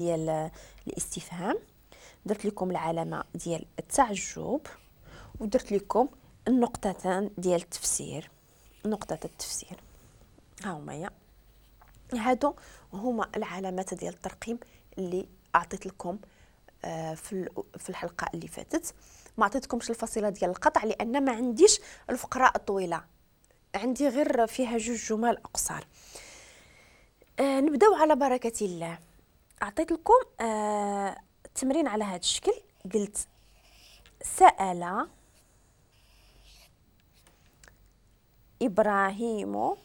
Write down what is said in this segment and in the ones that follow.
ديال الاستفهام، درت لكم العلامة ديال التعجب، ودرت لكم النقطتان ديال التفسير، نقطة التفسير. ها هما يا هادو هما العلامات ديال الترقيم اللي اعطيت لكم في الحلقة اللي فاتت. ما عطيتكمش الفاصلة ديال القطع لان ما عنديش الفقرة الطويلة، عندي غير فيها جوج جمل اقصر. نبداو على بركة الله. اعطيت لكم التمرين على هذا الشكل، قلت سأل إبراهيم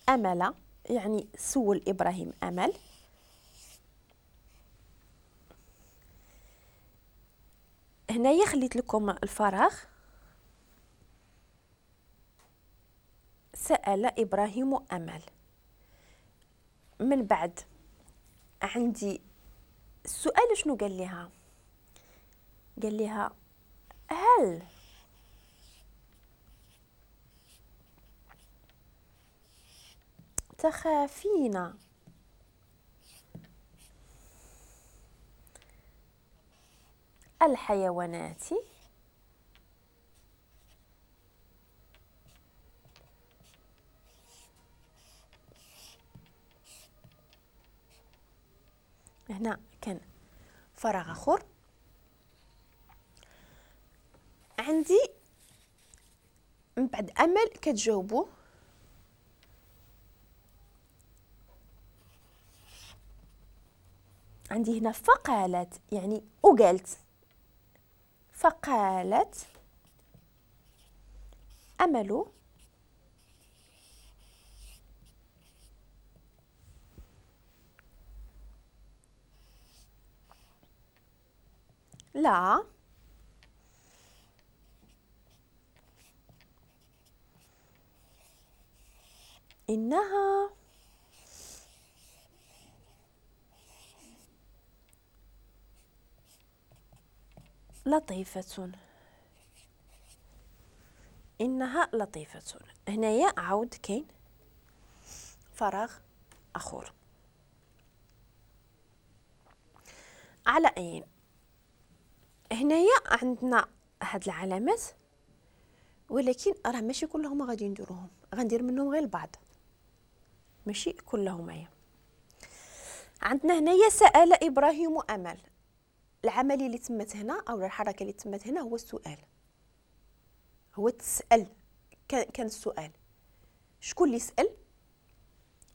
أمل، يعني سول إبراهيم أمل. هنايا خليت لكم الفراغ، سأل إبراهيم أمل. من بعد عندي السؤال، شنو قال لها؟ قال لها هل تخافين الحيوانات؟ هنا كان فراغ اخر. عندي من بعد امل كتجاوبوا عندي هنا فقالت، يعني وقالت، فقالت أمل لا إنها لطيفة، إنها لطيفة. هنايا عاود كاين فراغ آخر. على أين هنايا عندنا هاد العلامات، ولكن راه ماشي كلهم غادي نديروهم، غندير منهم غير البعض، ماشي كلهم. هي عندنا هنايا سأل إبراهيم أمل، العملية اللي تمت هنا أو الحركة اللي تمت هنا هو السؤال، هو تسأل، كان السؤال شكون اللي سأل؟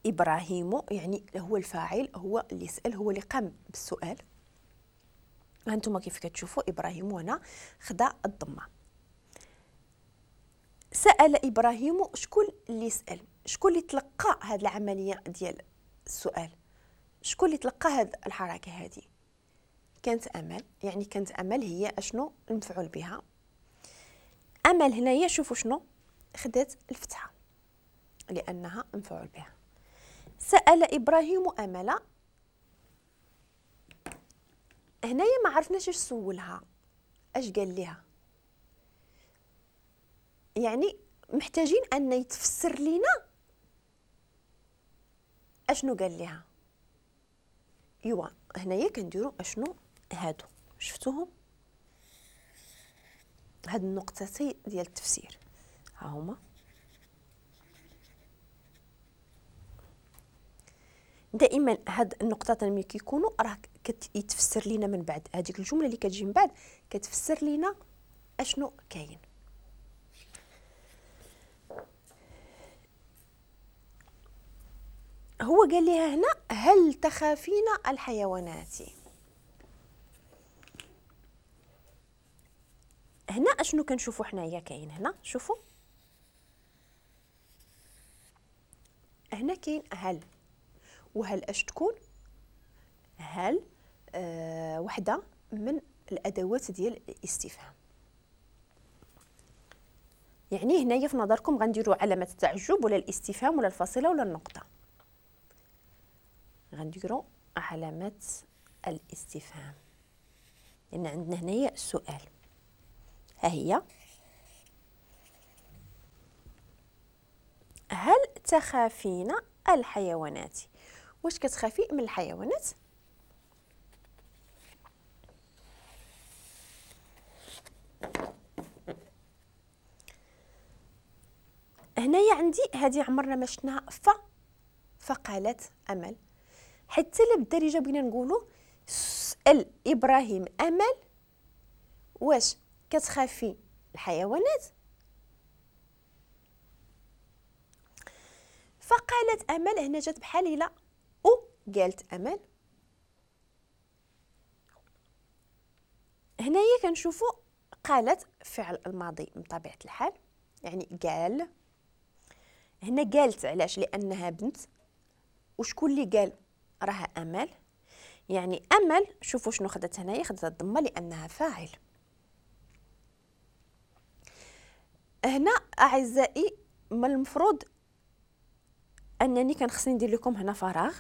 إبراهيم، يعني هو الفاعل، هو اللي سأل، هو اللي قام بالسؤال. هانتوما كيف كتشوفوا إبراهيم هنا خدا الضمة. سأل إبراهيم، شكون اللي سأل؟ شكون اللي تلقى هذه العملية ديال السؤال؟ شكون اللي تلقى هذه الحركة هذه؟ كانت أمل، يعني كانت أمل هي أشنو المفعول بها. أمل هنايا شوفوا شنو خدات الفتحة لأنها مفعول بها. سأل إبراهيم أمل، هنايا ما عرفناش اش سولها، اش قال لها، يعني محتاجين ان يتفسر لينا اشنو قال لها. ايوا هنايا كنديروا اشنو هادو، شفتوهم هاد النقطتين ديال التفسير ها هما. دائما هاد النقطتين ملي كيكونوا راه كيتفسر لينا من بعد، هذيك الجملة اللي كتجي من بعد كتفسر لينا اشنو كاين. هو قال لها هنا هل تخافين الحيوانات؟ هنا اشنو كنشوفوا حنايا كاين هنا، شوفوا هنا كاين هل، وهل اش تكون؟ هل وحده من الادوات ديال الاستفهام. يعني هنايا في نظركم غنديروا علامة التعجب ولا الاستفهام ولا الفاصلة ولا النقطة؟ غنديروا علامة الاستفهام لان عندنا هنايا السؤال. ها هي. تخافين الحيوانات؟ واش كتخافي من الحيوانات؟ هنايا عندي هذه عمرنا ما شفناها، فقالت امل. حتى لا بالدارجة بغينا نقولوا سأل ابراهيم امل واش كتخافي الحيوانات؟ فقالت امل. هنا جات بحال الا او قالت امل. هنايا كنشوفوا قالت فعل الماضي من طبيعة الحال، يعني قال. هنا قالت علاش؟ لانها بنت، وشكون اللي قال؟ راها امل. يعني امل شوفوا شنو خدت هنايا، خدت الضمة لانها فاعل. هنا اعزائي من المفروض انني كان خصني ندير لكم هنا فراغ،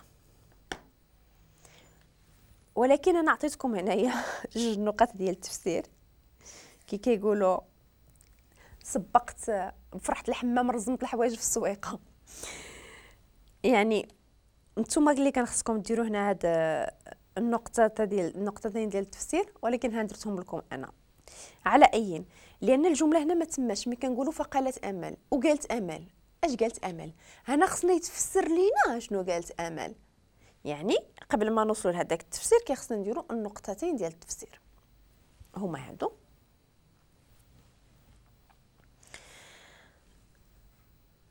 ولكن انا عطيتكم هنايا جوج نقاط ديال التفسير. كي كيقولوا سبقت فرحت الحمام رزمت الحوايج في السويقه. يعني نتوما اللي كان خصكم ديروا هنا هاد النقطة ديال النقطتين ديال التفسير، ولكن ها درتهم لكم انا على اين، لان الجملة هنا ما تماش. ملي كنقولوا فقالت امل وقالت امل، اش قالت امل؟ هنا خصنا يتفسر لينا شنو قالت امل. يعني قبل ما نوصلوا لهذاك التفسير كيخصنا نديروا النقطتين ديال التفسير هما هادو.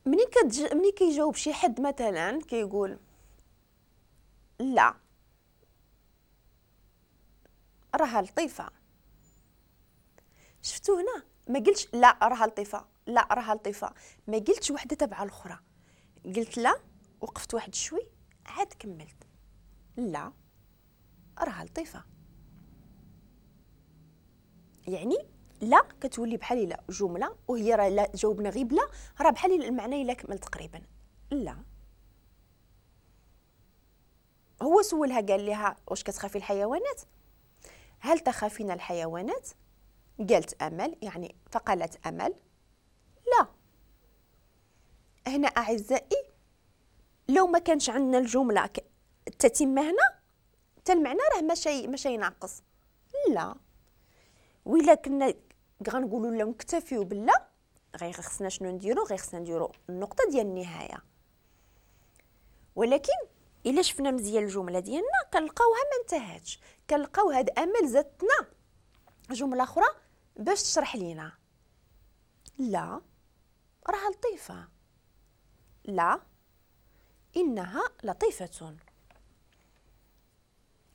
ملي كيجاوب شي حد مثلا كيقول لا راها لطيفة، شفتو هنا ما قلتش لا راها لطيفة، لا راها لطيفة، ما قلتش وحده تبع الاخرى، قلت لا وقفت واحد شوي عاد كملت لا راها لطيفة. يعني لا كتولي بحال لا جملة، وهي راه لا جاوبنا غير بلا، راه بحال المعنى الا كمل تقريبا. لا هو سولها قال لها واش كتخافي الحيوانات؟ هل تخافين الحيوانات؟ قالت امل، يعني فقالت امل لا. هنا اعزائي لو ما كانش عندنا الجملة التتمة هنا حتى المعنى راه ماشي ناقص. لا وإلا كنا غنقولوا لا نكتفيو باللا، غير خصنا شنو نديرو؟ غير خصنا نديرو النقطة ديال النهاية. ولكن الا شفنا مزيان الجملة ديالنا كنلقاوها ما انتهتش، كنلقاو هاد امل زادتنا جملة اخرى باش تشرح لينا لا راها لطيفة، لا انها لطيفة.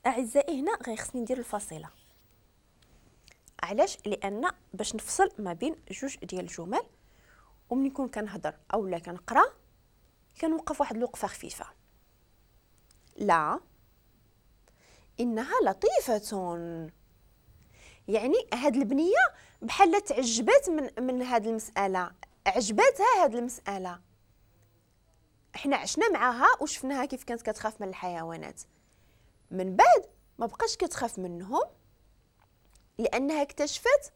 اعزائي هنا غير خصني ندير الفاصلة. علاش؟ لان باش نفصل ما بين جوج ديال الجمل، وملي نكون كنهضر اولا كنقرا كنوقف واحد الوقفة خفيفة. لا انها لطيفة، يعني هاد البنية بحال تعجبات من هاد المسالة، عجباتها هاد المسالة. احنا عشنا معاها وشفناها كيف كانت كتخاف من الحيوانات، من بعد ما بقاش كتخاف منهم لانها اكتشفت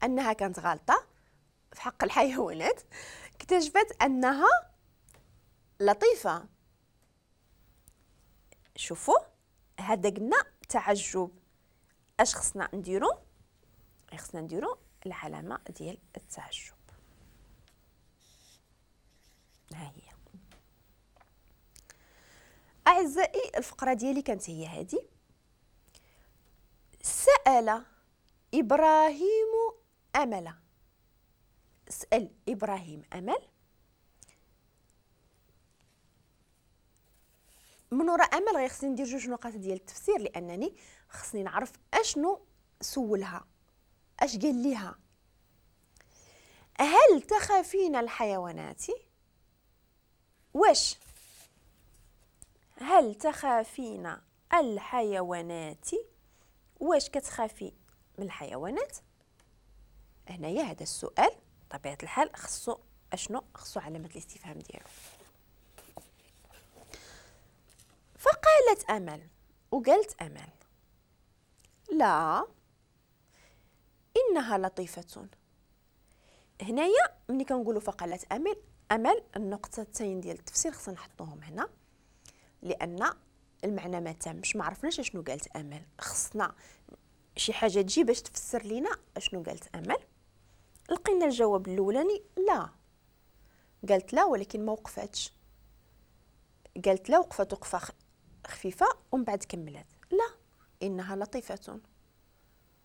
انها كانت غلطه في حق الحيوانات، اكتشفت انها لطيفة. شوفوا هذا قلنا تعجب، اش خصنا نديرو؟ خصنا نديرو العلامة ديال التعجب، ها هي. اعزائي الفقرة ديالي كانت هي هذه. سأل إبراهيم أمل، سأل إبراهيم أمل. من وراء أمل غير خصني ندير جوج نقاط ديال التفسير، لأنني خصني نعرف أشنو سولها، أش قال ليها. هل تخافين الحيوانات؟ واش هل تخافين الحيوانات؟ واش كتخافي من الحيوانات؟ هنايا هذا السؤال بطبيعة الحال خصو اشنو؟ خصو علامة الاستفهام ديالو. فقالت امل وقالت امل لا انها لطيفة. هنايا ملي كنقولوا فقالت امل، امل النقطتين ديال التفسير خصنا نحطوهم هنا لان المعنى ما تمش، ما عرفناش اشنو قالت امل، خصنا شي حاجة تجي باش تفسر لينا اشنو قالت امل. لقينا الجواب الاولاني لا، قالت لا ولكن ما وقفتش، قالت لا وقفت وقفه خفيفة ومن بعد كملت لا انها لطيفة.